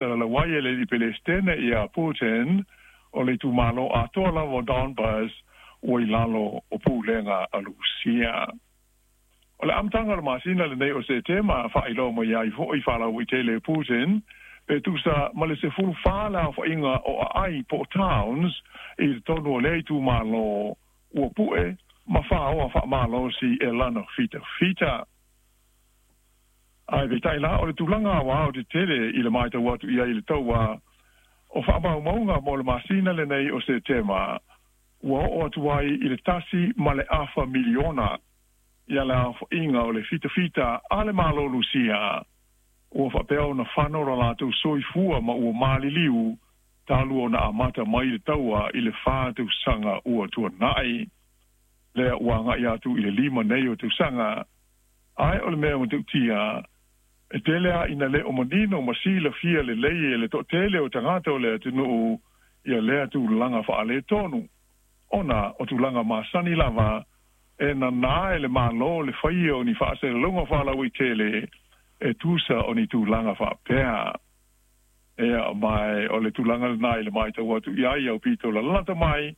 Salalau ai e le alii Pelesitene ia Putin, o le itumalo atoa lava o Donbas ua i lalo o pulega a Lusia. O le amataga o le masina lenei o Setema, faailoa mai ai foi faalauaitele e Putin, pe tusa ma le 14 le aofaiga o aai po o towns i totonu o lea itumalo ua pu'e ma faoa faamalosi e lana fitafita. Ae peitai la, o le tulaga aoao tetele i le matau atu i ai i le taua o faamaumauga mo le masina lenei o Setema, ua oo atu ai i le 1.5 miliona ia le aofaiga o le fitafita a le Malo Lusia ua faapea ona fano lo latou soifua ma ua maliliu talu ona amata mai le taua i le 4 tausaga ua tuanai. Lea ua agai atu i le 5 nei o tausaga, ae o le mea matautia e tele a ina le o manino ma silafia lelei e le toatele o tagata o le atunuu ia lea tulaga faaletonu, ona o tulaga masani lava e nanā e le Malo le faia o ni faasalalauga faalauaitele e tusa o ni tulaga faapea. Ia mai o le tulaga lenā i le matau atu i ai aupito lalata mai,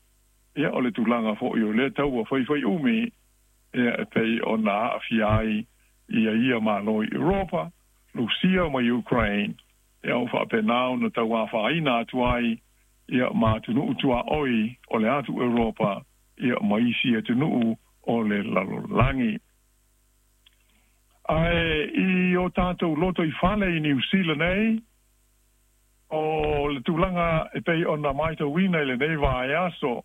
ia o le tulaga foi o lea taua faifai umi, ia e pei ona aafia ai ia ia Malo i Europa, Lusia ma Ukraine, ia o faapena ona tauafaina atu ai ia ma atunuu tuaoi o le atu Europa ia ma isi atunuu o le lalolagi. Ae i o tatou loto i fale i Niu Sila nei, o le tulaga e pei ona matauina i lenei vaiaso,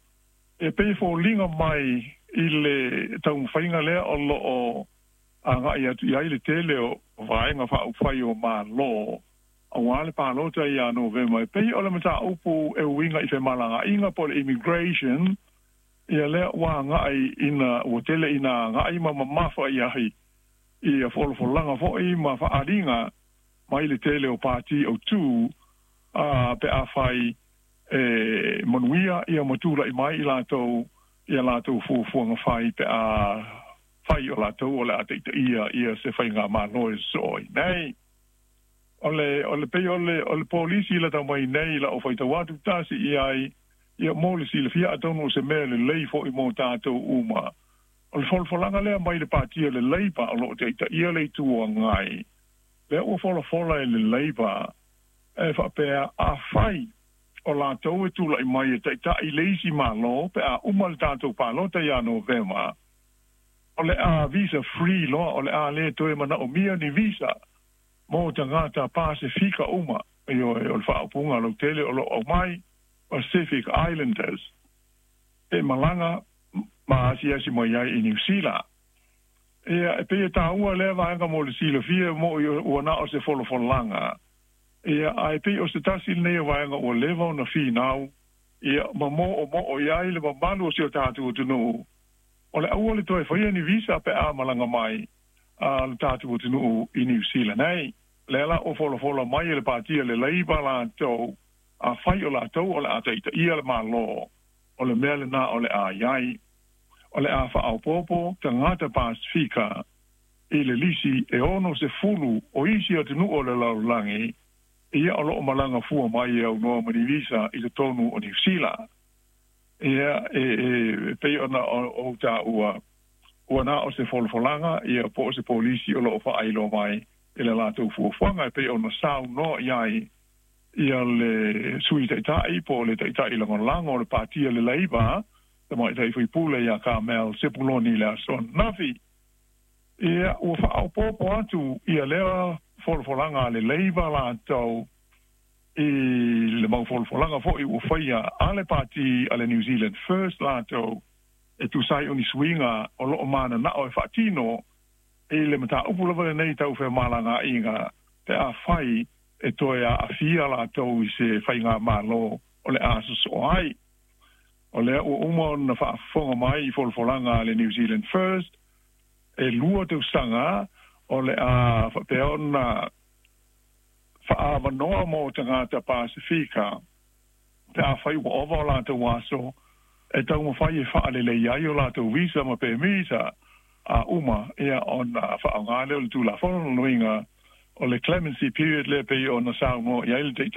e pei foliga mai i le taumafaiga lea o lo o agai atu i ai le tele o vaega faaupufai o Malo aua le palota ia Novema, e pei o le mataupu e uiga i femalagaaiga po o le immigration. Ia lea ua agai ina ua tele ina agai ma mamafa i ai ia folafolaga foi ma faaaliga mai le tele o pati autū a pe afai e manuia ia ma tula'i mai i latou ia latou fuafuaga fai pe a fai o latou o le a taitaia ia se faiga malo e soo ai nei. O le pei o le polisi la tau mai nei la o faitau atu tasi i ai ia mo le silafia, atonu o se mea lelei fo'i mo tatou uma. O le folafolaga lea mai le patia le Labour o loo taitaia le Itu Agai, lea ua folafola e le Labour e faapea, afai o latou e tula'i mai e taita'i le isi Malo pe a uma le tatou palota ia Novema, o le a visa free loa, o le a lē toe manaomia ni visa mo tagata Pasefika uma. Ioe, o le faaupuga lautele o loo aumai, Pacific Islanders, e malaga ma asiasi mai ai i Niu Sila. Ia e pei e tāua lea vaega mo le silafia mo ua na o se folafolaga ia, ae pei o se tasi lenei o vaega ua leva ona finau ia ma mo'omo'o i ai le mamalu o si o tatou atunuu, o le aua le toe faia ni visa pe a malaga mai a le tatou atunuu i Niu Sila nei. Lea la ua folafola mai e le patia le Labour latou, afai o latou o le a taitaia le Malo, o le mea lenā o le a iai, o le a faaopoopo tagata Pasefika i le lisi e 60 o isi atunuu o le lalolagi ia o loo malaga fua mai e aunoa ma ni visa i totonu o Niu Sila. Ia e pei ona ou taua, ua na o se folafolaga ia po o se polisi o loo faailoa mai i le latou fuafuaga e pei ona saunoa i ai ia le Sui Taitai po o le Taitai Lagolago o le Patia le Labour, Tamaitai Faipule ia Carmel Sepuloni, le aso ananafi. Ia ua faaopoopo atu ia lea folafolaga a le Labour latou i le mau folafolaga foi ua faia a le pati a le New Zealand First latou e tusa ai o ni suiga o loo mananao e faatino i le mataupu lava lenei tau femalagaaiga pe a fai e toe aafia latou i se faiga malo o le a sosoo ai. O lea ua uma ona faafofoga mai i folafolaga a le New Zealand First, e 2 tausaga o le a faapea ona faaavanoa mo tagata Pasefika pe a fai ua ova o latou aso e taumafai e faalelei ai o latou visa ma pemisa a uma ia ona faaaoga lea o le tulafono loiga. O le clemency period lea pei ona saunoa i ai le